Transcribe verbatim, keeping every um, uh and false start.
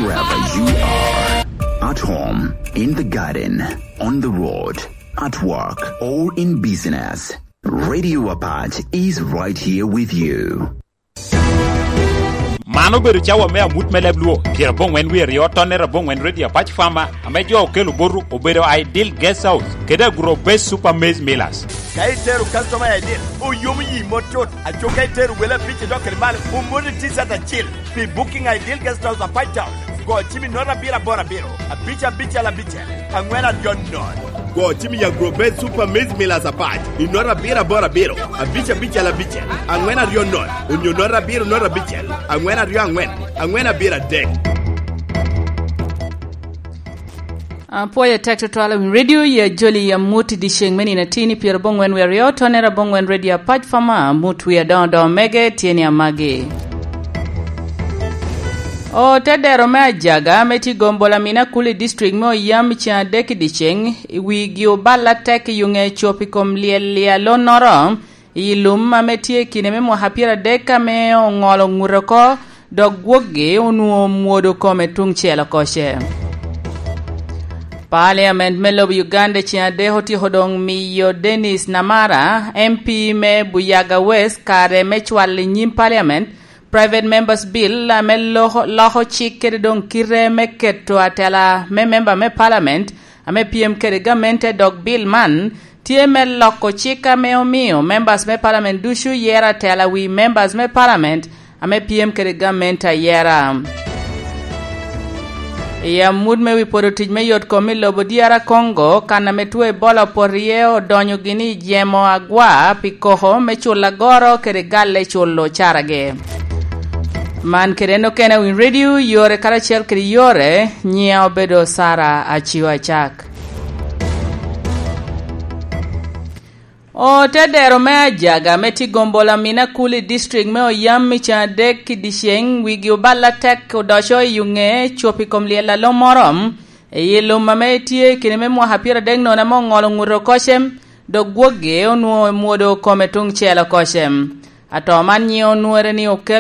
Wherever you are, at home, in the garden, on the road, at work, or in business, Radio Apache is right here with you. Man obedo cawa me amut me leb Luo, pyerabongwen wie aryo, tonnere abongwen, Radio Apache Farmer, ame jo okelo botu obedo Ideal Guest House kede Agro Base Super Maize Millers. Ka itero customer I D, oyomo yi mot tut. Aco ka itero wele abic idok kede malo, omoti T-shirt acil pi Booking Ideal Guest House, Apac Town. Go cim i note abiro aboro abiro, abic abicel abicel, angwen aryo nono. Go cim i Agro Base Super Maize Millers Apac i note abiro aboro abiro, abic abicel abicel, angwen aryo nono, onyo note abiro note abicel, angwen aryo angwen, angwen abiro adek. Apwoyo tek tutwal i Radio ya Joli ya mut i dyeceŋ me nino atin i pyerabongwen wie aryo, tonnere abongwen, Radio Apac Farmer, mut wie adoŋo adoŋo mege tye ni amagi. Ote dero me Ajaga ame tye Gombola Mina Kuli District me oyam i ceŋ adek i dyeceŋ, i wigi obal atek i yuŋe cop i kom lyel lyalonnoro, i lum ame tye i kine me mwaka pyeradek ame oŋolo ŋute oko, dok gwokgi onwoŋo omwodo kome tuŋ cel oko ce. Parliament me lobo Uganda ceŋ adek otyeko doŋ miyo Dennis Namara, M P me Buyaga West, kare me cwalo i nyim Parliament Private Members Bill ame loko, loko cik kede doŋ kite me keto atela me memba me Parliament ame pyem kede gamente, dok bill man tye me loko cik ame omio members me Parliament ducu yero atela wi members me Parliament ame pyem kede gamente ayera. I amut me wi pwodo tic me yot kom i lobo D R Congo, kan ame two Ebola opoto iye, odonyo gini i jemo agwa pi koko me culo agoro kede galle culo caragi. Man kede en okene Win Radio, yore karacel kede yore, nyiŋa obedo Sara Acio Acak. Otedero me Ajaga ame tye Gombola Mina Kuli District me oyam i ceŋ adek i dyeceŋ, wigi obal atek odoco i yuŋe cop i kom lyel alo moro, i lum ame tye i kine me mwaka pyeradek nono ame oŋolo ŋute oko cem, dok gwokgi onwoŋo omwodo kome tuŋ cel oko cem. Ato man nyiŋe onwore ni okelo